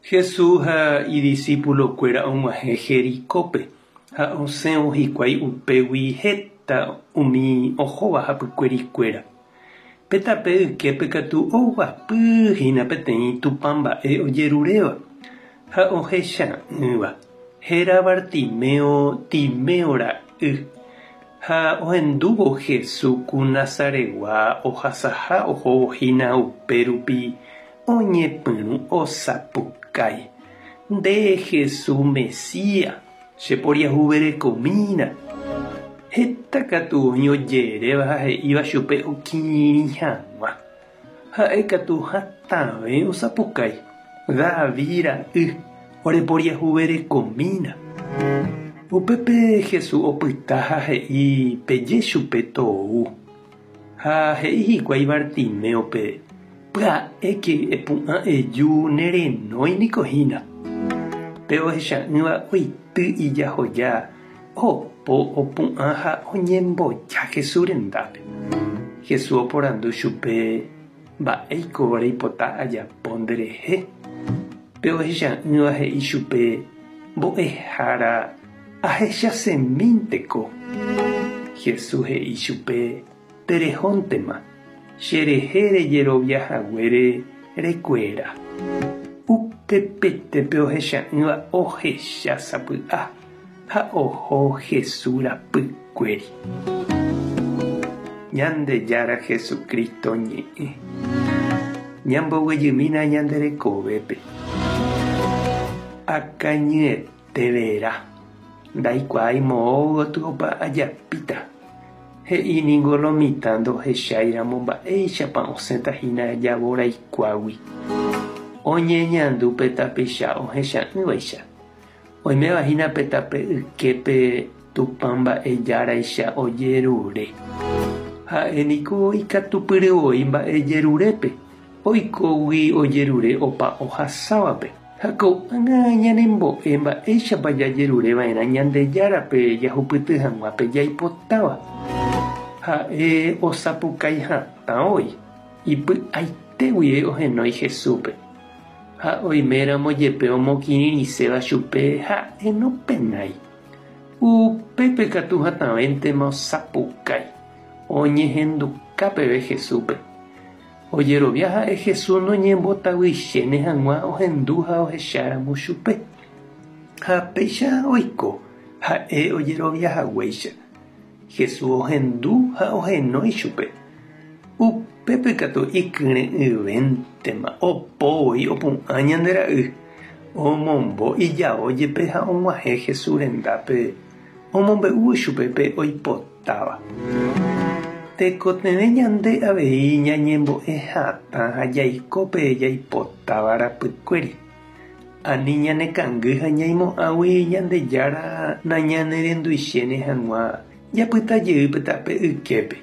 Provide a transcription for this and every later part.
Jesús ha idisípulo kuéra og̃uahẽ Jericópe, ha osẽvo hikuái upégui heta umi ohóva hapykuerikuéra. Pe tape yképe katu oguapyhína peteĩ tupãmba'e ojeruréva ha ohecha'ỹva, héra Bartimeo, Timeo ra'y. Ha ohendúvo Jesús ku Nazaretgua ohasaha ohóvo hína upérupi oñepyrũ osapukái: Nde Jesús Mesías, cheporiahuverekomína. Heta katu oĩ ojeréva ha he'íva chupe okirirĩ hag̃ua. Ha'e katu hatãve osapukái: David ra'y, oreporiahuverekomína. Upépe Jesús opyta ha he'i peje chupe tou. Ha he'i hikuái Bartiméope: Pya'éke epu'ã eju nerenói niko hína. Pe ohecha'ỹva oity ijahoja opo opu'ã ha oñemboja Jesús rendápe. Jesús oporandu chupe: Mba'éiko reipota ajapo nderehe? Pe ohecha'ỹva he'i chupe: Mbo'ehára, ahechasemínteko. Jesús he'i chupe: Terehóntema, cherehe rejeroviahaguére rekuera. Upepete pe ohecha'ỹva ohecha sapy'a ha oho Jesús rapykuéri. Ñandejára Jesucristo ñe'ẽ. Ñamboguejymína ñande rekovépe. Akañyete vera. Ndaikuaái moõ gotyopa ajapíta. He'i ningo lo mitã ndohecháiramo mba'éichapa osẽtahína javoraikuágui. Oñeñandu pe tapicha ohecha'ỹvaicha. Oimevahína pe tape yképe tupãmba'ejáraicha ojerure. Ha'e niko ikatupyryvoi mba'ejerurépe, oikógui ojerure opa ohasávape. Ha ko'ág̃a ñanembo'e mba'éichapa jajerureva'erã Ñandejárape jahupyty hag̃ua pe jaipotáva. Ha'e osapukái hatã voi, ipy'aite guive ohenói Jesúspe. Ha oiméramo jepe omokirirĩséva chupe ha'e nopenái. Upépe katu hatãvéntema osapukái, oñehenduka peve Jesúspe. Ojerovia ha'e Jesús noñembotavýichéne hag̃ua ohendu ha ohecháramo chupe. Ha péicha oiko ha'e ojeroviahaguéicha. Jesús ohendu ha ohenói chupe. Upépe katu ikyre'ỹvéntema opo voi opu'ã ñande ra'y. Omombo ijao jepe ha og̃uahẽ Jesús rendápe omombe'úvo chupe pe oipotáva. Tekotevẽ ñande avei ñañembo'e hatã ha jaiko pe jaipotáva rapykuéri. Ani ñanekangy ha ñaimo'ãgui Ñandejára nañanerenduichéne hag̃ua japyta jey pe tape yképe.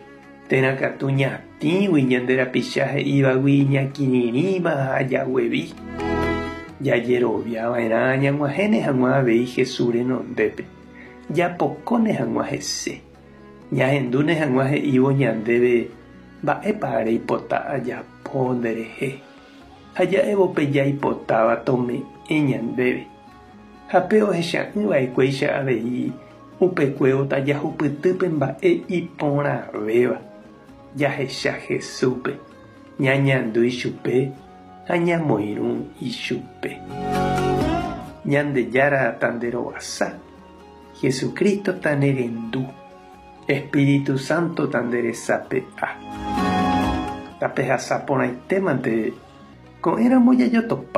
Térã katu ñatĩgui ñande rapicha he'ívagui ñakirirĩma ha jaguevi. Jajeroviava'erã ñag̃uahẽne hag̃ua avei Jesús renondépe. Japokóne hag̃ua hese. Ñahendúne hag̃ua he'ívo ñandéve mba'épa reipota ajapo nderehe. Ha ja'évo pe jaipotáva tome'ẽ ñandéve. Ha pe ohecha'ỹva'ekuéicha avei upekuévo tajahupyty pe mba'e iporãvéva. Jahecha Jesúspe, ñañandu ichupe ha ñamoirũ ichupe. Ñandejára tanderovasa, Jesucristo tanerendu, Espíritu Santo tanderesape'a. Tapehasa porãitémante ko'ẽramo jajotopa.